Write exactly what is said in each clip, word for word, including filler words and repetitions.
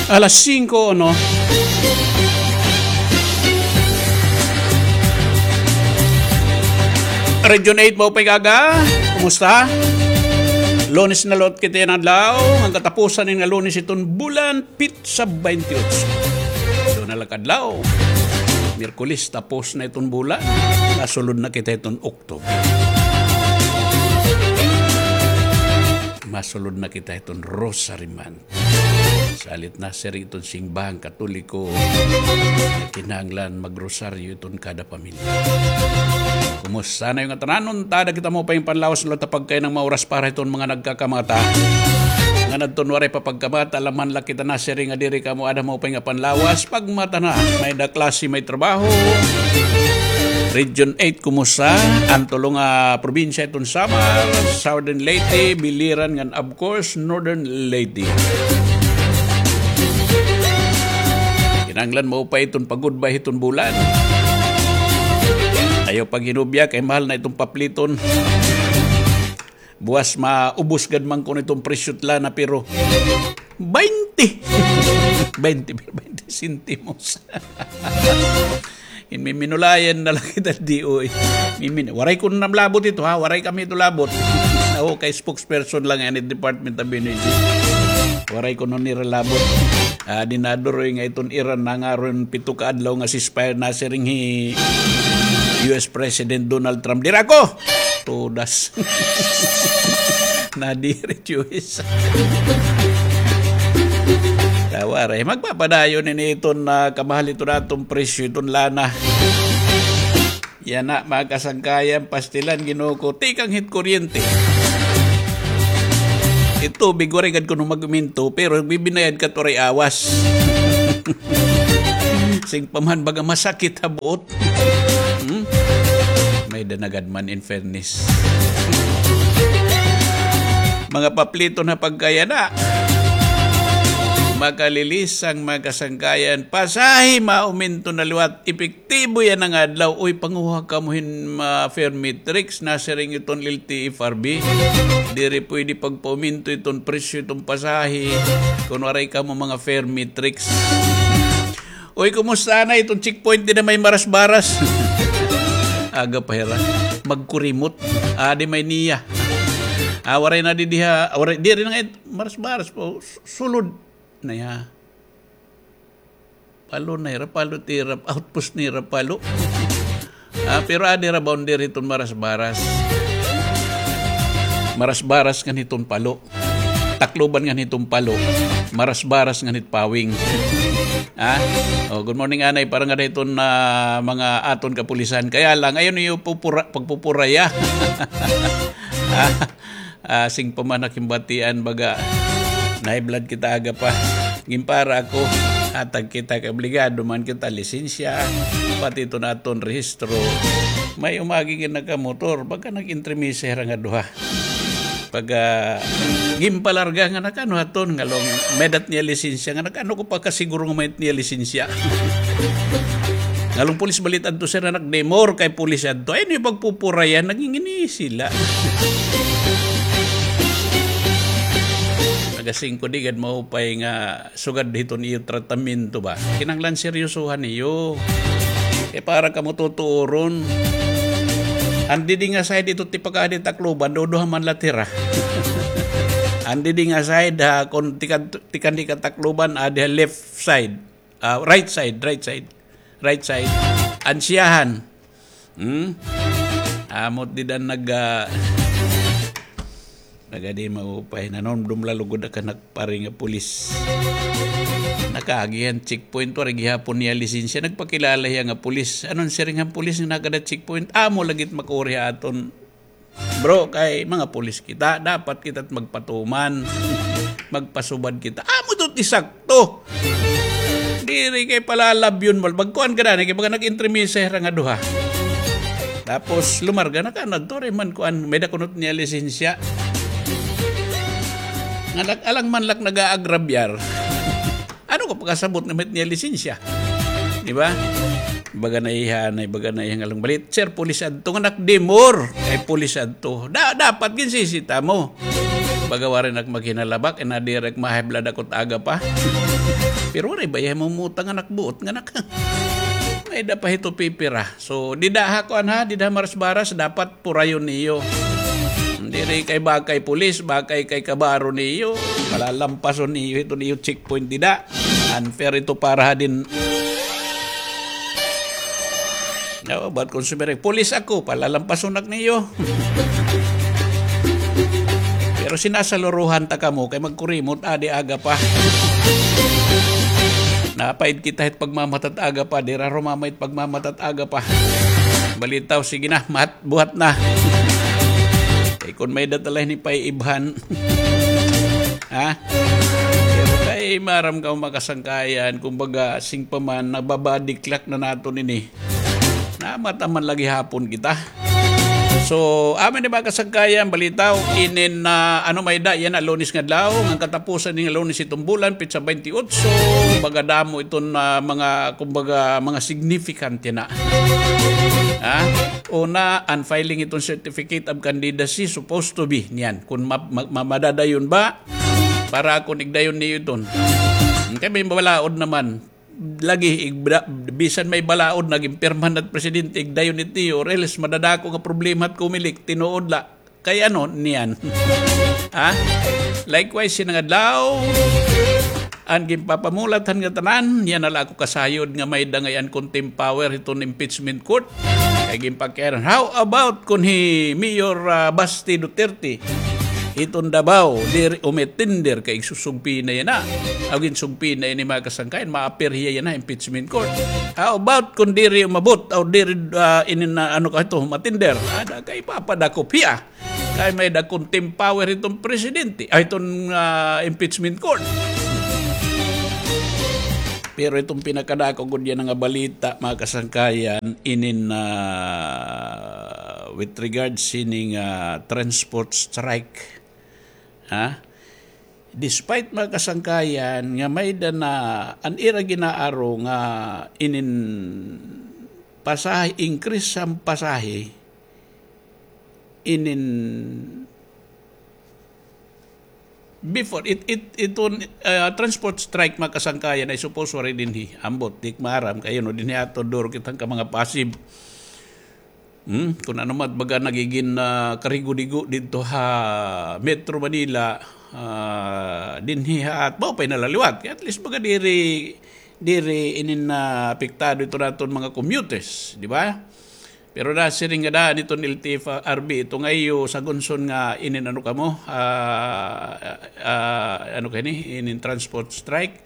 Alas singko, no? Region eight, maupay nga aga. Kumusta? Lunes na liwat kita yana adlaw. An katapusan ini nga Lunes iton bulan, petsa baynte otso. Duha na la ka adlaw. Miyerkules, tapos na iton bulan. Masulod na kita iton October. Masulod na kita iton Rosary Month. Salit na, sir, iton simbahang Katoliko, kinahanglan magrosaryo iton kada pamilya. Kumusta na ngatanan? Unta, ada kita maupay nga panlawas, liwat ha pagkahi nga mauras para hiton mga nagkakamata. Ngan adton waray pa pagkamata, alangan la kita nasiring nga diri kamo ada maupay nga panlawas. Pagmata na, may-ada klase, may trabaho. Region eight, kumusta? An tulo nga probinsya iton Samar, Southern Leyte, Biliran, ngan of course, Northern Leyte. Kinahanglan maupay iton pa-goodbye hiton bulan. Ayaw paghinubya kay mahal na iton papliton. Buwas maubos gad man kuno iton presyo hit lana, pero baynte. Baynte, baynte sentimos. Minminulayan na la kita, D O A. Mimin-, waray kuno nira labot ito, ha? Waray kami ito labot. Ako kay spokesperson la ngani hit Department of Energy. Waray kuno nira labot. Ah, dinaduroy nga iton Iran, nangaron pito ka adlaw nga ceasefire, nasiring hi U S President Donald Trump. Diri ako! Todas. Nadiri, Diyos. Tawa, re. Magpapadayon ini iton, ah, kamahal iton aton presyo, iton lana. Yana, mga kasangkayan, pastilan, Ginoo ko, tikang hit kuryente. It tubig, waray gad kuno mag-uminto, pero bibinayad ka waray awas. Sing pa man baga masakit ha buot. Hmm? May-ada na gad man, in fairness. Mga papliton ha pagkahi yana. Makalilisang, mga kasangkayan, pasahe, mauminto na liwat, epektibo yana nga adlaw. Uy, panguha kamo hin, ah, fare matrix, nasiring iton L T F R B. Diri pwede pagpauminto iton presyo iton pasahe kon waray kamo mga fare matrix. Uy, kumusta na iton checkpoint dida may Marasbaras? Aga pa hira. Magkurimot. Adi may NIA. Ah, waray na didi ha, waray, diri na ngay-an Marasbaras pa, su-, sulod na ya. Palo na hira, Palo, tira, outpost nira, Palo. Ah, pero adi ra boundary hiton Marasbaras. Marasbaras ngan hiton Palo. Tacloban ngan hiton Palo. Marasbaras ngan hit Pawing. Ah? Oh, good morning, anay. Para ngada hiton, ah, mga aton kapulisan. Kaya lang, ayaw niyo pupura-, pagpupuraya. Ah? Ah, sing pa man ak hin batian, baga, na-high blood kita aga pa. Ginpara ako, hatag kita kay obligado man kita, lisensya, pati iton aton rehistro. May umagi nga nakamotor, baga nag-entremesa hira nga duha. Pag, ah, ginpalarga nga nag-ano aton, ngan law, may-ada it niya lisensya, nga nag-ano ko pagkasiguro nga may-ada it niya lisensya. Ngan law, pulis bala it adto, sir, nga nag-demur kay pulis adto. Ay, ano yung pagpupurayan? Nangingini sila. Nagasing ko, di gad maupay nga sugad hiton iyo tratamiento ba. Kinahanglan seryosohan niyo. Kay para kamo tutuoron. An didi nga side ito tipakadi Tacloban, duduha man la tira. An didi nga side ha, kon tikan, tikan di ka Tacloban, adi ha left side. Ah, right side, right side. Right side. An siyahan. Hmm? Amot dida nag, ah, nagadi maupay. Nanumdom la lugod ak han pari nga pulis. Nakaagi han checkpoint, waray gihapon niya lisensya. Nagpakilala hiya nga pulis. Ano an siring han pulis nga nakada checkpoint? Amo lagi it makuri ha aton. Bro, kay mga pulis kita, dapat kita magpatuman. Magpasubad kita. Amo ito it isakto. Diri kay palalabyon mo. Magkuan ka na, kay baga nag-entremesa hira nga duha. Tapos lumarga na ka, nagtuloy man kuan, may-ada kuno it niya lisensya. Nga nag-, alang man la nag-aagrabyar. Ano ko pakasabot nga may-ada it niya lisensya? Di ba? Baga na iya, na baga na iya nga law, bala it sir, pulis adto nga nag-demur. Ay, pulis adto. Da-, dapat ginsisita mo. Baga waray na ak maghinalabak, ina diri ak ma-high blood ako it aga pa. Pero waray baya mamutang an ak buot nga nak-, may-ada pa hito pipira. So, dida ha kuan ha, dida ha Marasbaras, dapat purayon niyo. Diri kay bakay pulis, bakay kay kabaro niyo. Palalampason niyo hito niyo checkpoint dida. Unfair ito para ha din. Oo, but kon sumiring, "Pulis ako," palalampason ak niyo. Pero sinasaluruhan ta kamo kay magkurimot adi aga pa. Napaid kita hit pagmamata it aga pa, dira rumamay it pagmamata it aga pa. Balitaw, sige na, mat-, buhat na. Kay kon may-ada ta la hini paiibhan. Ha? Pero kay maaram kamo mga kasangkayan, kumbaga, siring pa man, nababadiklak na naton ini. Namata man la gihapon kita. So, amin ni mga kasangkayan, balitaw, inin, ah, ano may-ada, yana, Lunes nga adlaw, ngan katapusan ini nga Lunes iton bulan, petsa twenty-eight, so, baga damo iton, ah, mga, kumbaga, mga significant yana. Ha? Una, unfiling iton certificate of candidacy, supposed to be, niyan. Kung ma-, ma-, ma-, madadayon ba, para akon igdayon niyo iton. Kay may balaod naman. Lagi, igbra-, bisan may balaod, naging permanent presidente, igdayon it niyo, or else madadako nga problema it Comelec, tinuod la. Kay ano, niyan. Ha? Likewise, yana nga adlaw, an ginpapamulat han ngatanan, yana la ako kasayod nga may-ada ngay-an contempt power hiton impeachment court. Kay ginpakiaran, how about kon hi Mayor, ah, Basti Duterte? Hiton Davao, diri umitender kay igsusugpi na yana. Aw, ginsugpi na ini mga kasangkayan, ma-appear hiya yana, impeachment court. How about kon diri umabot, aw diri, ah, inin na, ano ka ito, matender? Ada kay papadakop hiya. Kay may-ada contempt power hiton presidente, ay, hiton, ah, impeachment court. Pero iton pinakadako gud yana nga balita, mga kasangkayan, inin, ah, with regards sining, ah, transport strike. Ha? Despite, mga kasangkayan, nga may-ada na an ira ginaaro nga inin pasahe, increase han pasahe, inin before, it, it, iton, ah, transport strike, mga kasangkayan, I suppose waray dinhi. Ambot, di ko maaram kay, you know, dinhi ato duro kita han mga passive. Hmm, kun ano man, baga nagigin, ah, karigo-digo didto ha Metro Manila, ah, dinhi ha at-, mao pa in nalaliwat. Kay at least baga diri, diri inin, ah, apektado iton aton mga commuters, di ba? Pero nasiring nga daan iton L T F R B, ito nga iyo sagunson nga inin ano kamo, ah, ah, ano kani, inin transport strike.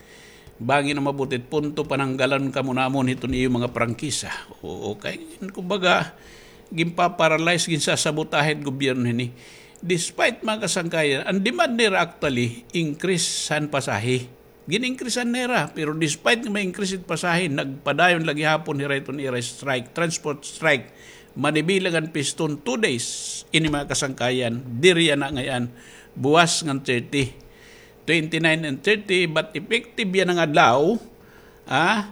Bangin umabot it punto, pananggalan kamo namon hiton iyo mga prangkisa. Oo, kay, kumbaga, ginpa-paralyze, ginsasabotahe it gobyerno hini. Despite, mga kasangkayan, an demand nira actually, increase han pasahe. Gin-increasean nira, pero despite nga ma-increase it pasahe, nagpadayon la gihapon hira hiton ira strike, transport strike. Manibilang an piston, two days, ini mga kasangkayan, diri yana ngay-an, buwas ngan thirty. Twenty-nine and thirty, but effective yana nga adlaw, ah,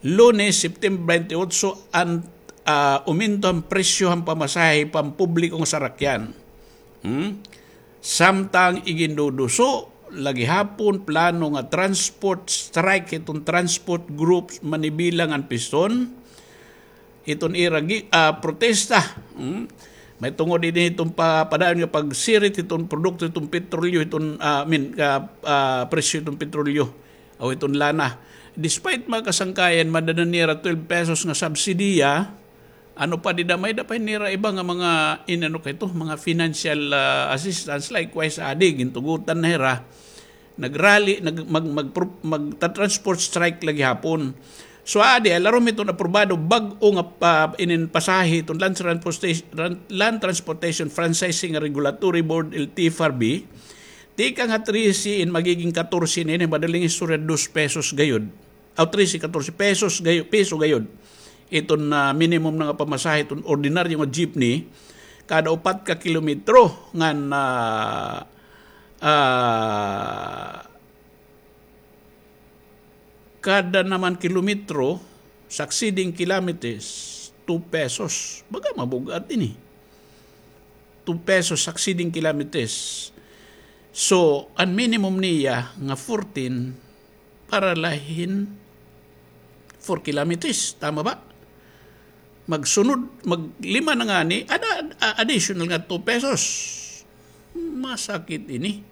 Lunes, September twenty-eight, an, ah, uminto an presyo han pamasahe pampubliko nga sarakyan. Hmm? Samtang iginduduso la gihapon plano nga transport strike hiton transport groups manibilang an piston. Iton ira gi-, ah, protesta. Hmm? Mahitungod ini hiton pa-, padayon nga pagsirit hiton produkto hiton petrolyo, hiton, ah, I mean, ah, ah, presyo hiton petrolyo aw hiton lana. Despite mga kasangkayan, madala nira twelve pesos nga subsidiya, ano pa dida, may-ada pa nira iba nga mga, inano kay ito, mga financial, ah, assistance. Likewise, adi, gintugutan na hira. Nag-rally, nag-, mag-, mag-, magta-transport strike la gihapon. So, adi, alarom iton aprobado, bag-o nga pa, inin pasahe, iton Land Transportation, Land Transportation Franchising Regulatory Board, L T F R B, tikang ha trese, in magiging katorse na ini, madaling istorya, dos pesos gayod. Aw, trese, katorse pesos gayo-, peso gayod. Iton, ah, minimum na nga pamasahe, iton ordinaryo nga jeepney, kada upat ka kilometro ngan, ah, ah, kada naman kilometro, succeeding kilometers, two pesos. Baga mabug-at ini. Two pesos succeeding kilometers. So, an minimum niya nga fourteen para la hin four kilometers. Tama ba? Magsunod, maglima na ngani, ada, a-, additional nga two pesos. Masakit ini.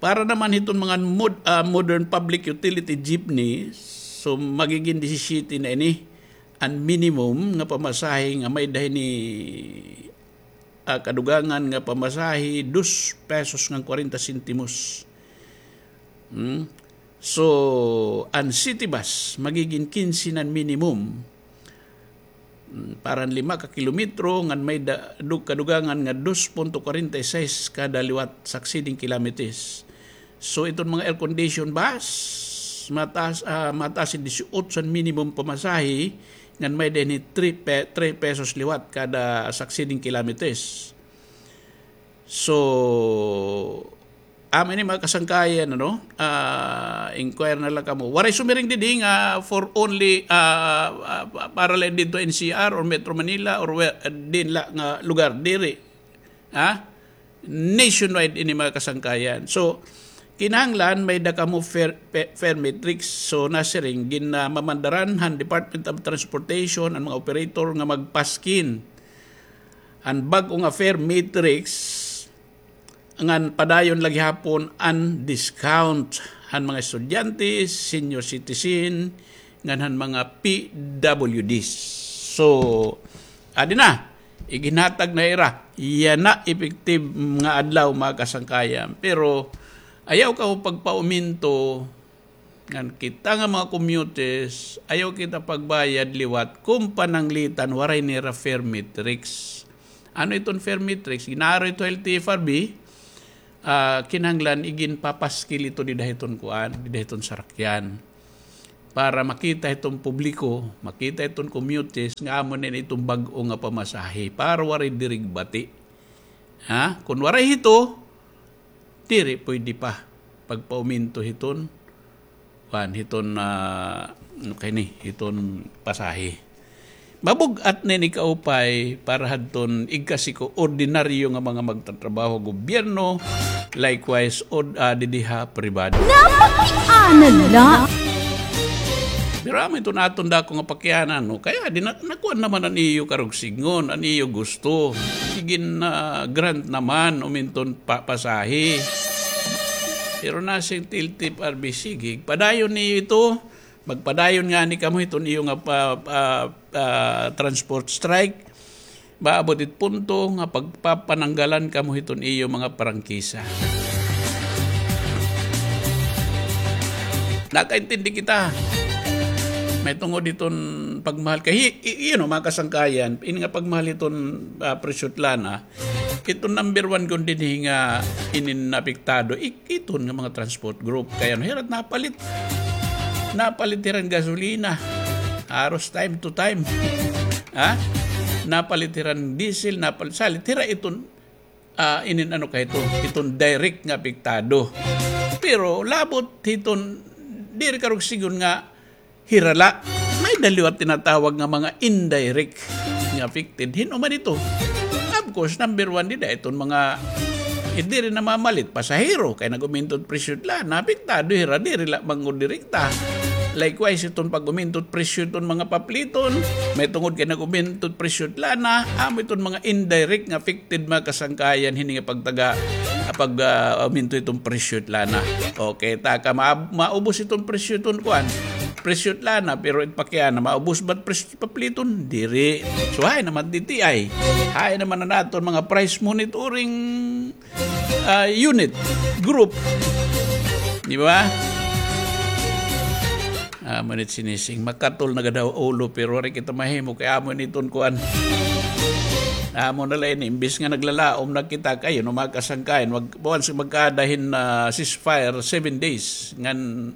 Para naman hiton mga mod-, ah, modern public utility jeepney, so magigin disisiyete na ini an minimum nga pamasahe nga may-ada hini, ah, kadugangan nga pamasahe, dos pesos ngan kwarenta sentimos. Hmm? So, an city bus, magigin kinse na an minimum. Mm, para han lima ka kilometro, ngan may da-, dug-, kadugangan nga dos punto kwarenta y seis kada liwat succeeding kilometers. So, iton mga air condition bus, mataas, ah, mataas hin disiotso an minimum pamasahe, ngan may-ada hini three pe-, three pesos liwat kada succeeding kilometers. So, amo ini mga kasangkayan, ano? Ah, inquire na la kamo. Waray sumiring didi nga for only, ah, ah, para la didto N C R or Metro Manila or where, diin la nga lugar, diri. Ha? Nationwide ini mga kasangkayan. So, kinahanglan may-ada kamo fare, pe-, fare matrix. So, nasiring, ginamamandaran han Department of Transportation an mga operator nga magpaskin an bag-o nga fare matrix ngan padayon la gihapon an discount han mga estudyante, senior citizen, ngan han mga P W Ds. So, adi na, iginhatag na hira. Yana effective nga adlaw, mga kasangkayan. Pero, ayaw kamo pagpauminto, ngan kita nga mga commuters, ayaw kita pagbayad liwat kon pananglitan waray nira fare matrix. Ano iton fare matrix? Gin-aaro ito ha L T F R B, ah, kinahanglan iginpapaskil ito dida hiton kuan, dida hiton sarakyan. Para makita hiton publiko, makita hiton commuters nga amo na ini iton bag-o nga pamasahe. Para waray diri bati. Ha? Kon waray hito, diri pwede pa pagpauminto hiton, kuan, hiton, ah, ano kay ni, hiton pasahe. Mabug-at na ini kaupay para hadton igkasi ko ordinaryo nga mga magtatrabaho ha gobyerno, likewise, od-, ah, didi ha pribado. Napakiana la. Pero amo iton aton dako nga pakianan, no? Kay adi na, nakuan naman an iyo karugsingon, an iyo gusto. Sige na, grant naman, uminton pa-, pasahe. Pero nasiring it L T F R B, sige, padayon niyo ito. Magpadayon ngani kamo hiton iyo nga pa-, pa-, ah, transport strike. Maabot it punto nga pagpapananggalan kamo hiton iyo mga prangkisa. Nakaintindi kita. Mahitungod hiton pagmahal kay hi-, i-, you know, mga kasangkayan, ini nga pagmahal hiton, ah, presyo hit lana, iton number one kon dinhi nga inin apektado, i-, iton nga mga transport group. Kay ano, hira it napalit. Napalit hira hin gasolina. Haros time to time. Ha? Napalit hira hin diesel, napalit, salit hira iton, ah, inin ano kay ito, iton direct nga apektado. Pero labot hiton, diri karugsingon nga hira la. May-ada liwat tinatawag nga mga indirect nga affected. Hin-o man ito? Of course, number one dida iton mga, eh, diri namamalit, pasahero, kay nag-uminto it presyo hit lana, apektado hira, diri la man gud direkta. Likewise, iton pag-uminto it presyo hiton mga papliton, mahitungod kay nag-uminto it presyo hit lana, amo iton mga indirect nga affected, mga kasangkayan, hini nga pagtaga, pag, ah, uminto iton presyo hit lana. Okay, ta ka ma-, maubos iton presyo iton kuan. Presyo hit lana, pero it pakiana, maubos ba it presyo hit papliton? Diri. So, hain naman D T I? Hain naman an aton mga price monitoring, ah, unit, group? Di ba? Ah, manit sinising, makatol na gad ha ulo, pero waray kita mahimo, kay amo ini iton kuan. Amo na la ini, imbis nga naglalaom na kita, kay, you know, mga kasangkayan, mag-, once magkaada hin, ah, ceasefire, seven days, ngan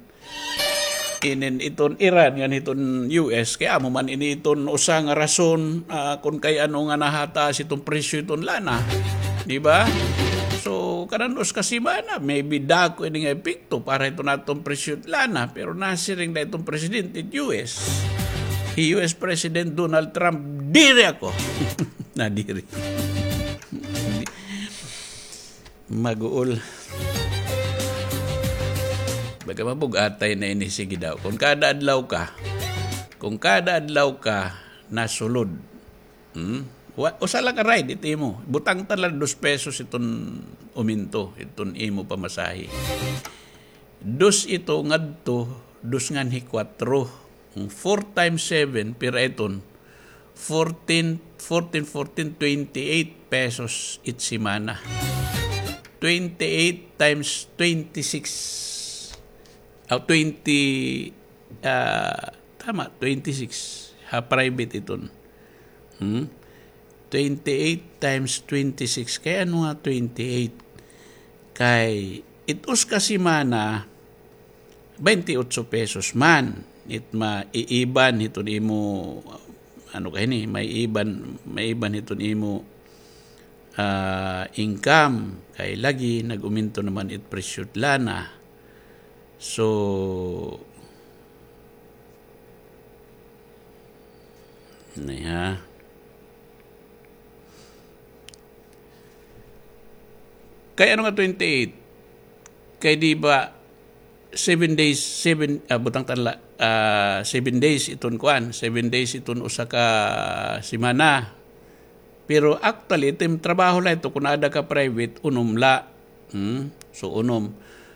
inin iton Iran, ngan hiton U S, kay amo man ini iton usa nga rason, ah, kon kay ano nga nahataas iton presyo iton lana. Di ba? So, kanan dos ka semana, maybe dako ini nga epekto para hiton aton presyo hit lana, pero nasiring la iton presidente hit U S. Hi U S President Donald Trump, diri ako. Nadiri. Maguol. Pagka mabug-atay na ini, sige daw. Kung kada adlaw ka, kung kada adlaw ka nasulod, hmm? Wa-, usa la ka ride it imo. Butangtan la dos pesos iton uminto, iton imo pamasahe. Dos ito ngadto, dos nganhi kuwatro. Four times seven, pira iton? Fourteen, fourteen, fourteen, twenty-eight pesos it semana. Twenty-eight times twenty-six. Ah, twenty, ah, tama, twenty-six. Ha private iton. Hmm? Twenty-eight times twenty-six. Kay ano nga twenty-eight? Kay it usa ka semana, baynte otso pesos man. It maiiban hiton imo, ano ka hini, maiiban, maiiban hiton imo, ah, income. Kay lagi nag-uminto naman it presyo it lana. So, Nay, ha? Kay ano nga twenty-eight? Kay di ba seven days, seven, ah, butangtan la, ah, seven days iton kuan, seven days iton usa ka semana. Pero actually, it im trabaho la ito, kun aada ka private, unom la. Hmm? So, unom.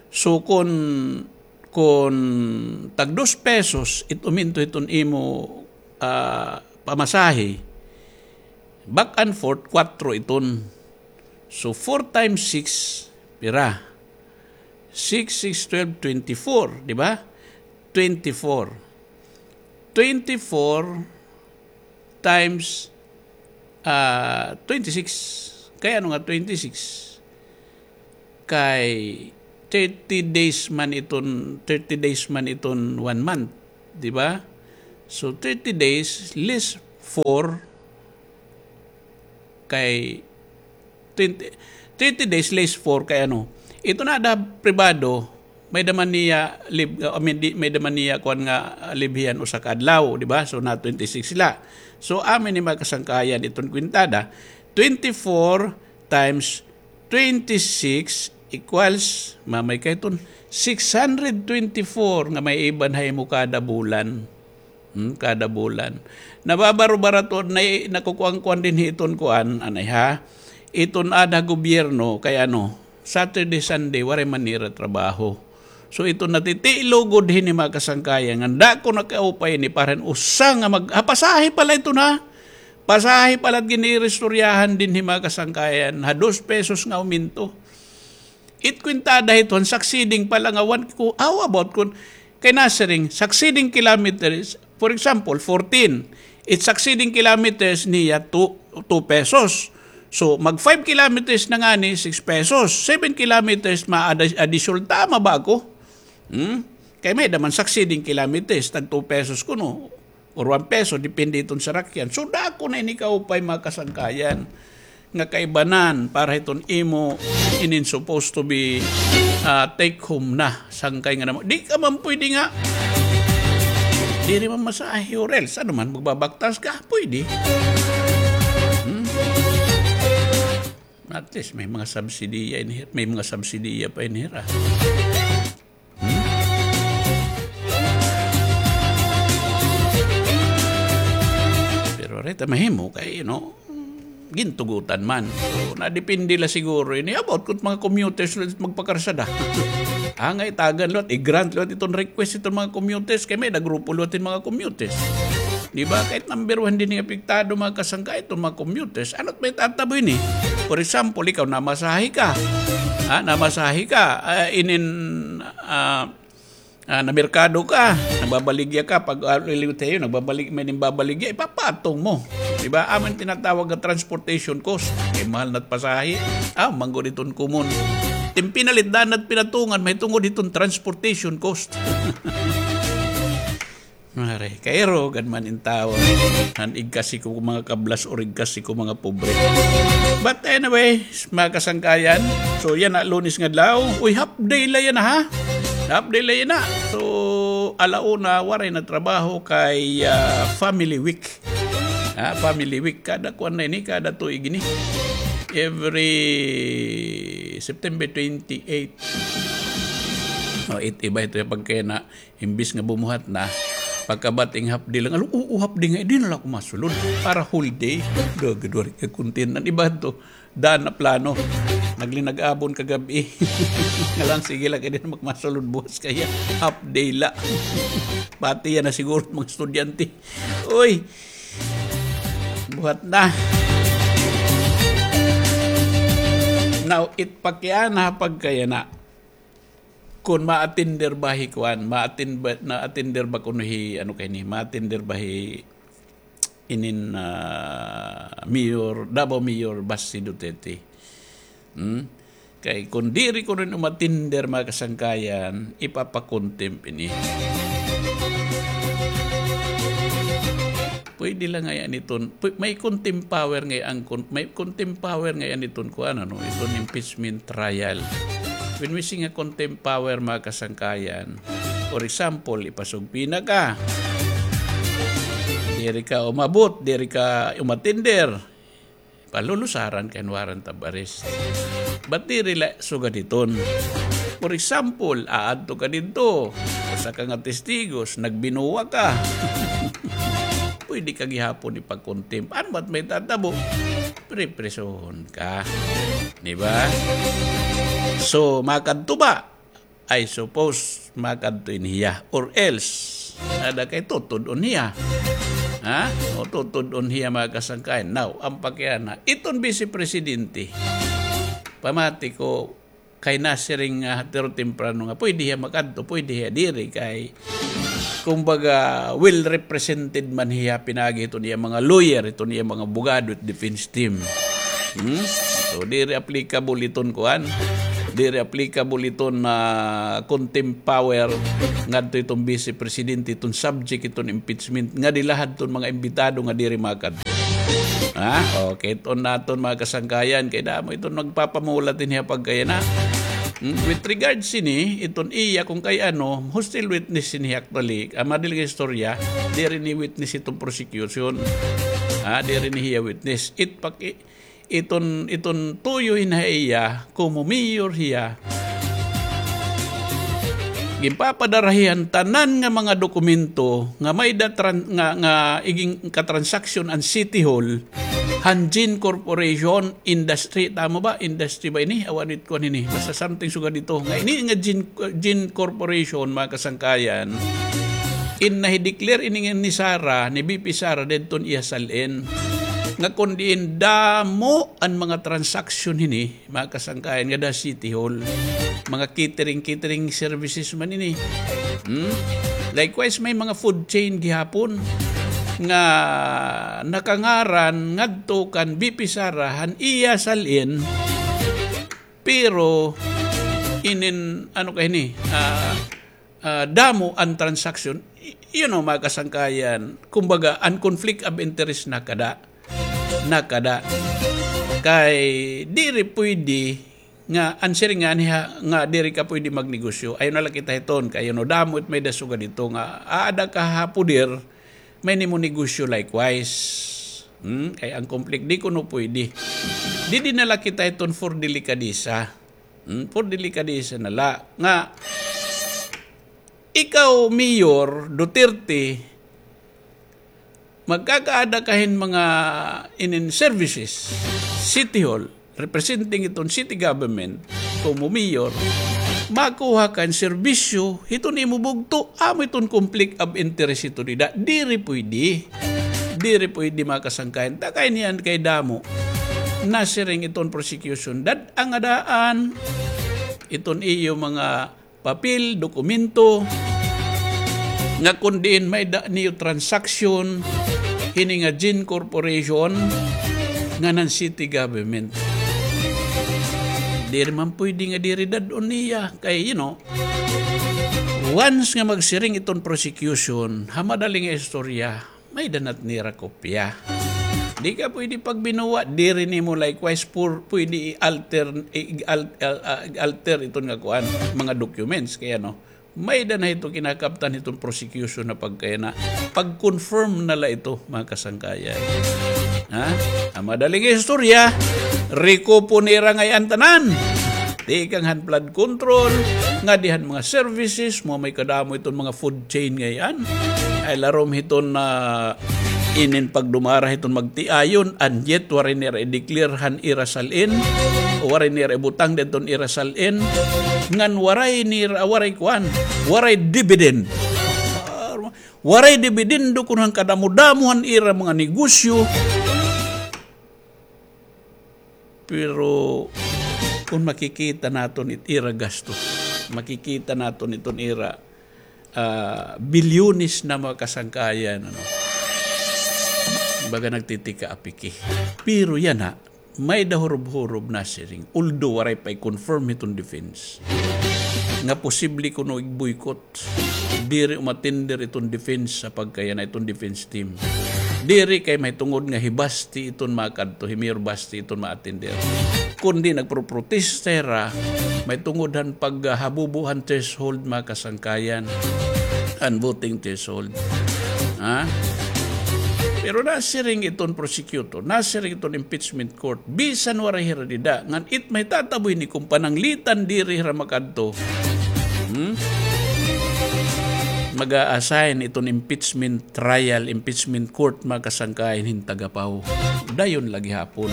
So, kun, kun tag dos pesos, it uminto iton imo, ah, pamasahe, back and forth, kuwatro iton. So, four times six, pira? Six, six, twelve, twenty-four, di ba? Twenty-four. Twenty-four times, ah, twenty-six. Kay ano nga twenty-six? Kay thirty days man iton, thirty days man iton one month, di ba? So, thirty days less four kay twenty, thirty days less four kay ano. Ito na da pribado, may-ada man niya leave, uh, I mean, di, may-ada man niya kuan nga, uh, leave hiya usa ka adlaw, di ba? So, na twenty-six sila. So, amin ni mga kasangkayan iton kwintada, twenty-four times twenty-six equals, mamay kay iton, six hundred twenty-four nga maiiban ha imo kada bulan. Hmm, kada bulan. Nababaro-barato, na, nakukuan-kuan dinhi iton kuan, anay ha. Iton aada gobyerno, kay ano, Saturday, Sunday, waray man nira trabaho. So, iton natitilo gud hini mga kasangkayan, nga dako na kaupay ni para hin usa nga mag-, ah, pasahe pala iton ha. Pasahe pala it giniristoryahan dinhi mga kasangkayan, ha dos pesos nga aumento. It kwintada hiton, succeeding pala nga one ko, how about kun, kay nasiring, succeeding kilometers, for example, fourteen. It succeeding kilometers niya two, two pesos. So, mag five kilometers na ngani, six pesos. Seven kilometers, ma-, adi-, additional, tama ba ako? Hmm? Kay may-ada man succeeding kilometers, tag two pesos kuno. Or one peso, depende iton sarakyan. So, dako na ini kaupay, mga kasangkayan, nga kaibanan para hiton imo inin supposed to be, ah, take home na sangkay nga naman. Di ka man pwede nga, diri man masahe or else, ano man, magbabaktas ka, pwede. Hmm? At least, may mga subsidiya in here, may mga subsidiya pa in here, ah. Hmm? Pero reta mahimo kay, you know, gintugutan man. So, nadepende la siguro ini. About kun mga commuters liwat magpakarsada. Ah, nga itagan liwat, i-grant liwat iton request iton mga commuters. Kay may-ada grupo liwat hin mga commuters. Di ba? Kay it number one dinhi nga apektado, mga kasangkayan, iton mga commuters. Ano it may tatabo ini? For example, ikaw, namasahe ka. Ha? Namasahe ka. Ah, inin, ah, Ah, namerkado ka, nagbabaligya ka, pag, ah, liliwat ha iyo, nagbabalig-, may nimbabaligya, ipapatong mo. Di ba? Amo it tinatawag nga transportation cost. Kay mahal na it pasahe. Ah, manggod iton common. It im pinalit, daan na it pinatungan, mahitungod hiton transportation cost. Mare, kairo gad man in tawo. Han igkasi ko mga kablas or igkasi ko mga pobre. But anyway, mga kasangkayan, so yana, Lunes nga adlaw. Uy, half day la yana, ha? Half day la yana. So, ala una, waray na trabaho kay, ah, Family Week. Ha, Family Week. Kada kuan na ini, kada tuig ini. Every September twenty-eight. O, it iba ito ya pagkayana, imbis nga bumuhat na, pagkabati nga half day la, "Alo, oo, half day nga, di na la ako masulod. Para whole day." Dagad waray ka content. An iba ito, daan na plano. Naglinag-abon kagab-i. Nga la, sige la, kay di na ak masulod buwas kay half day la. Pati yana siguro mga estudyante. Uy, buhat na. Now, it pakiana pagkayana. Kon ma-attender ba hi kuan, ma-attend ba, na-attender ba kuno hi, ano kay ni, ma-attender ba hi inin, ah, Mayor, Davao Mayor Baste Duterte? Hmm? Kay kon diri kuno ini umatinder, mga kasangkayan, ipapa-contempt ini. Pwede la ngay-an iton, pw-, may contempt power ngay-an kon-, may contempt power ngay-an iton kuan, ano, iton impeachment trial. When we say nga contempt power, mga kasangkayan, for example, ipasubpoena ka. Diri ka umabot, diri ka umatinder. Palulusaran ka hin warrant of arrest. But diri la sugad hiton. For example, aadto ka didto, usa ka nga testigos, nagbinuwa ka. Pwede ka gihapon ipag-contempt. Ano ba't may tatabo? Priprisohon ka. Di ba? So, makadto ba? I suppose, makadto ini hiya. Or else, ada kay tutud-on hiya. Ha? O tutud-on hiya, mga kasangkayan. Now, an pakiana, iton Vice Presidente, pamati ko, kay nasiring nga hatiro temprano nga pwede hiya makadto, pwede hiya diri kay, kumbaga, well represented man hiya pinaagi hiton iya mga lawyer, hiton iya mga abogado, it defense team. Hmm? So, diri applicable iton kuan. Diri applicable iton na contempt power ngadto iton Vice Presidente, iton subject iton impeachment, nga diri la hadton mga imbitado nga diri makadto. Ha? Okay, iton naton mga kasangkayan, kay damo iton nagpapamulat ini ha pagkayana. Hmm? With regards sini, iton iya kung kay ano, hostile witness sini actually, ah, madali nga istorya, diri ni witness iton prosecution. Ha? Diri ni hiya witness. It paki-, iton, iton tuyo hin ha iya, komo mayor hiya. Ginpapadara hiya han tanan nga mga dokumento nga may-ada tran-, nga, nga igin katransaksyon an City Hall han Gin Corporation Industry. Tama ba? Industry ba ini? Awan it kuan ini. Basta something sugad ito. Nga ini nga Gin, Gin Corporation, mga kasangkayan, in nahi-declare ini nga ni Sara, ni V P Sara, didton iya sal-in. Nga kon diin damo an mga transaksyon hini, mga kasangkayan, ngada City Hall, mga catering, catering services man ini. Hmm? Likewise, may mga food chain gihapon nga nakangaran ngadto kan V P Sara han iya sal-in, pero inin, ano kay ini, ah, ah, damo an transaksyon. Y-, you know, mga kasangkayan, kumbaga, an conflict of interest nakada. Nakada. Kay diri pwede nga an siring nga niya nga diri ka pwede magnegosyo. Ayaw na la kita hiton kay, you know, damo it may-ada sugad hito nga aada ka ha poder, may-ada mo negosyo likewise. Hmm? Kay an conflict, di kuno pwede. Didi na la kita hiton for delikadesa. Hmm? For delikadesa na la. Nga, ikaw, Mayor Duterte, magkakaada ka hin mga inin services, City Hall, representing iton city government, komo mayor, makuha ka hin serbisyo hiton imo bugto, amo iton conflict of interest hito dida. Diri pwede. Diri pwede, mga kasangkayan. Ta kay niyan kay damo. Nasiring iton prosecution, dad-a nga daan iton iyo mga papel, dokumento, nga kon diin may-ada niyo transaksyon hini nga Gin Corporation ngan han city government. Diri man pwede nga diri dad-on niya. Kay, you know, once nga magsiring iton prosecution, ha madali nga istorya, may-ada na it nira kopya. Di ka pwede pagbinuwa, diri nimo likewise pur-, pwede i-alter, i-, i-al-, al-, ah, i-alter iton nga kuan, mga documents. Kay ano, may-ada na hito kinakaptan hiton prosecution na pagkayana. Pag-confirm na la ito, mga kasangkayan. Ha? An madali nga istorya, rekupo nira ngay-an tanan. Tikang han flood control, ngadi han mga services, mo may kadamo iton mga food chain ngay-an. Ay larom hiton na inin pagdumara hiton magtiayon, and yet waray nira i-declare han ira sal-in, waray nira ibutang didton ira sal-in, ngan waray nira, waray kuan, waray dividend. Waray dividendo kun han kadamo-damo han ira mga negosyo. Pero kun makikita naton it ira gastos, makikita naton iton ira, ah, bilyones na mga kasangkayan, ano. Baga nagtitika apiki. Pero yana, may-ada hurob-hurob nasiring. Although waray pa i-confirm hiton defense nga posible kuno igboycott. Diri umatender iton defense sa pagkayana iton defense team. Diri kay mahitungod nga hi Basti iton makadto, hi Mayor Basti iton ma-attender. Kundi nagproprotesta hira, mahitungod han paghabubo han threshold, mga kasangkayan, han voting threshold. Ha? Pero nasiring iton prosecutor, nasiring iton impeachment court, bisan waray hira dida, ngan it mahitatabo hini kun pananglitan diri hira makadto. Hmm? Mag-a-assign iton impeachment trial, impeachment court, mga kasangkayan, hin tagapaw. Dayon la gihapon.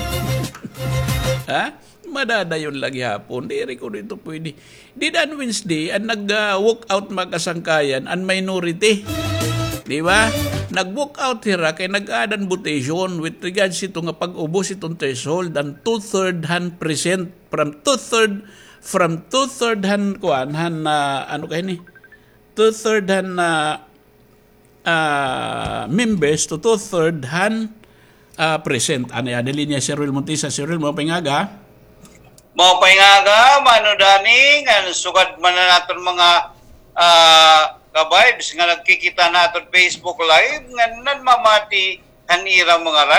Ha? Madadayon la gihapon. Diri kuno ito pwede. Dida han Wednesday, an nag, ah, walk out, mga kasangkayan, an minority. Di ba? Nag-walk out hira kay nag-add an votation with regards ito nga pag-ubos iton threshold, an two-third han present, from two-third, from two-third han kuan, han, ah, ano kay ni? Two-third han, ah, ah, members to two-third han, ah, present. Ano ya, dali niya si Ruel Montisa. Si Ruel, maupay nga aga. Maupay nga aga, Mano Dani, ngan sugad man an aton mga, ah, ka-vibes nga nagkikita ha aton Facebook Live, ngan nanmamati han ira mga rad,